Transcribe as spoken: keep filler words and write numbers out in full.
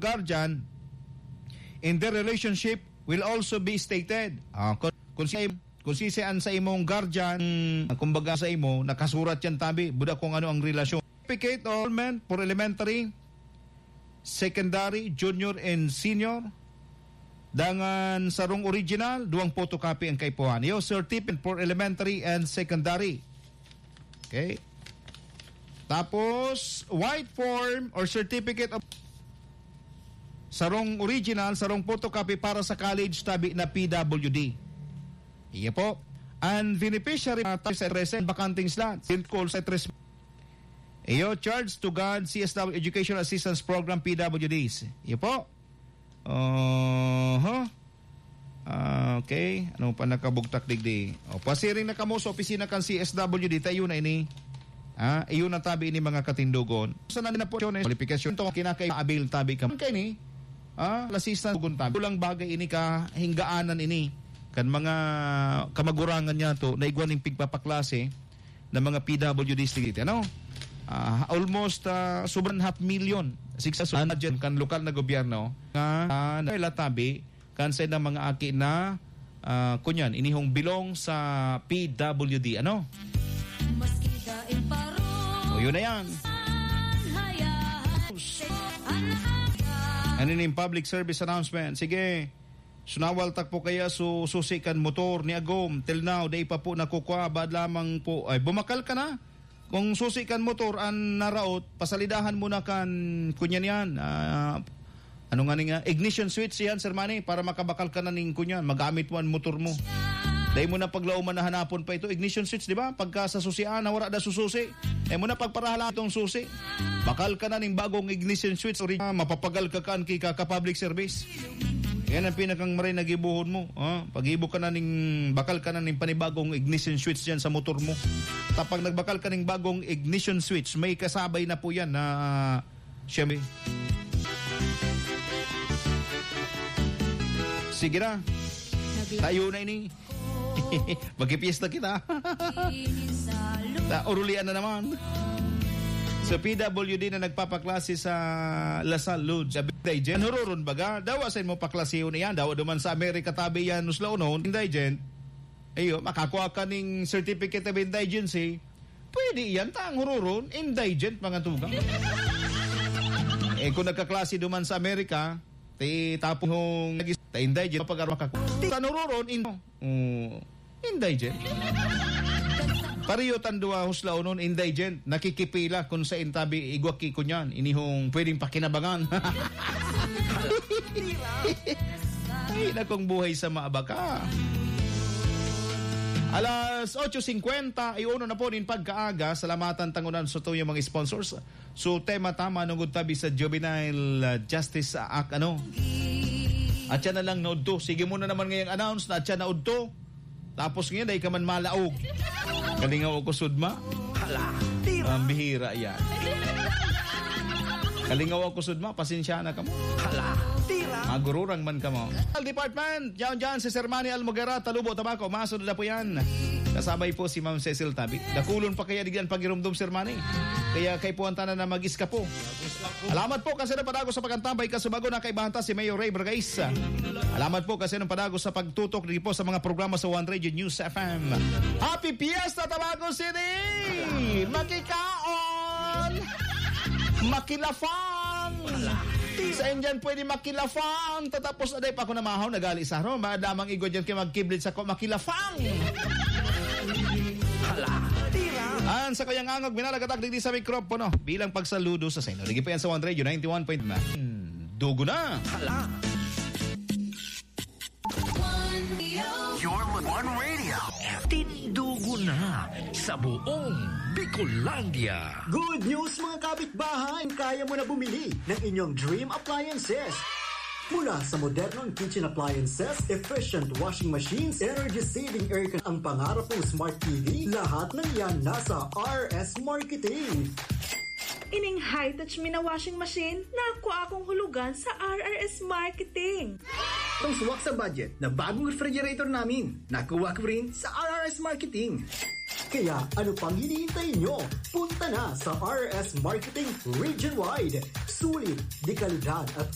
guardian in their relationship will also be stated. Ah, kung, kung si, kung si, si an sa imong guardian, kumbaga sa imo, nakasurat yan, tabi, buda kung ano ang relasyon. Certificate of enrollment for elementary, secondary, junior, and senior. Dangan sarong original, duwang photocopy ang kaipuhan. Iyo, certificate for elementary and secondary. Okay? Tapos, white form or certificate of sarong original, sarong photocopy para sa college tabi na P W D. Iyo po. And beneficiary, uh, tax at resident, vacanting slots, in call sa tres. Iyo, charge to God, C S W Education Assistance Program, P W Ds. Iyo po. Oho. Ah, okay. Ano pa nakabugtak digdi? O, pasiring na kamo sa opisina kan C S W D, tayo na ini. Ah, iyo na tabi ini, mga katindogon. Sa nandun na po, qualification to, kinakailangan abil tabi ka. Kaya ni, ah, lasistan, tugon tabi. Kulang bagay ini ka, hinggaanan ini. Kan mga kamagurangan niya to, naigwa ning pigpapaklase na mga P W Ds dito, ano? Ah, almost, ah, sobrang half million. Six sa budget kan lokal na gobyerno nga, ah, na tabi kan sa ilang mga aki na, ah, kunyan, inihong bilong sa P W D, ano? O, yun na yan. Ano yung public service announcement? Sige. Sunawal tak po kaya su-, susi kan motor ni Agom. Till now, dai pa po nakukuha. Baad lamang po. Ay, bumakal ka na? Kung susi kan motor an naraot, pasalidahan mo na kan, kunyan yan, ah, ano nga ni nga, ignition switch yan, Sir Manny, para makabakal ka na ning kunyan, magamit mo an motor mo. Dai mo na paglauman na hanapon pa ito, ignition switch, di ba? Pagka sa susian, na wala na sususi. Dai mo na pagparahalan itong susi. Bakal ka na ning bagong ignition switch, ori-, ah, mapapagal ka kan ki ka, ka public service. Yan ang pinakang maray na gibohon mo, ha? Pag-ibo ka na ning, bakal ka na ning panibagong ignition switch dyan sa motor mo. Tapag nagbakal ka ning bagong ignition switch, may kasabay na po yan na, siyempre. Sige na. Tayo na ini. Magpipiesta kita. Naurulian na naman. Sa P W D na nagpapaklase sa La Salle, Lodge, sabi, indigent. Ano roron baga? Dawa sa imo paklasehon iyan. Dawa duman sa Amerika, tabi yan, nuslaonon, indigent. Ayo, makakua ka ning certificate of indigency. Pwede iyan, ta ang hururon, indigent, mga tugang. Eh, kung nagkaklase duman sa Amerika, ti tapong nagis-, ta indigent, pag-arwa ka. Ti tanururon, in-, oh, indigent. Pariyo tan duwa huslaonon, indigent. Nakikipila kun sa intabi, igwa ki kunyan. Inihong pwedeng pakinabangan. Ay, nakong buhay sa maabaka. Alas otso singkwenta, ay uno na po nin pagkaaga. Salamatan tangunan sa tuyong mga sponsors. So, tema tama nungod tabi sa Juvenile, ah, Justice Act, ano? At siya na lang naudto. Sige mo na naman ngayang announce na at siya naudto. Tapos ngayon, dahil ka man malaog. Kalingaw ako sudma. Hala, tira. Ang bihira yan. Kalingaw ako sudma, pasensya na kamo. Hala, tira. Magururang man kamo. Health Department, diyan, diyan, si Sir Manny Almogera, Talubo, Tabaco, masunod na po yan. Kasabay po si Ma'am Cecil Tabi. Dakulon pa kaya digyan pagirumdom, Sir Manny? Kaya kay puwan tanan na mag-iska po. Alamat po kasi ng padago sa pagkantambay, kasubago na kaibahan ta si Mayor Ray Bragais. Alamat po kasi ng padago sa pagtutok din po sa mga programa sa One Radio News F M. Happy Fiesta, Tabaco City! Makikaon! Makilafang! Sa Indian, pwede makilafang. Tatapos na dahil pa ako namahaw, nagali sa harong. Maadamang igwa dyan kayo magkiblit sa ko, makilafang! Hala, tira! An sa kuyang angog, minalagatak digdi sa mikropono bilang pagsaludo sa saino. Ligi pa yan sa One Radio ninety-one point nine. Dugo na! Hala! Your One Radio. Tindugo na sa buong Bicolandia. Good news, mga kapitbahay! Kaya mo na bumili ng inyong dream appliances. Mula sa modernong kitchen appliances, efficient washing machines, energy-saving aircon, ang pangarap mong smart T V, lahat ng yan nasa R S Marketing. Ining high-touch mi na washing machine, nakuha akong hulugan sa R R S Marketing. Itong swak sa budget na bagong refrigerator namin, nakuha ko rin sa R R S Marketing. Kaya ano pang hinihintay nyo? Punta na sa R R S Marketing Region Wide. Sulit, de kalidad at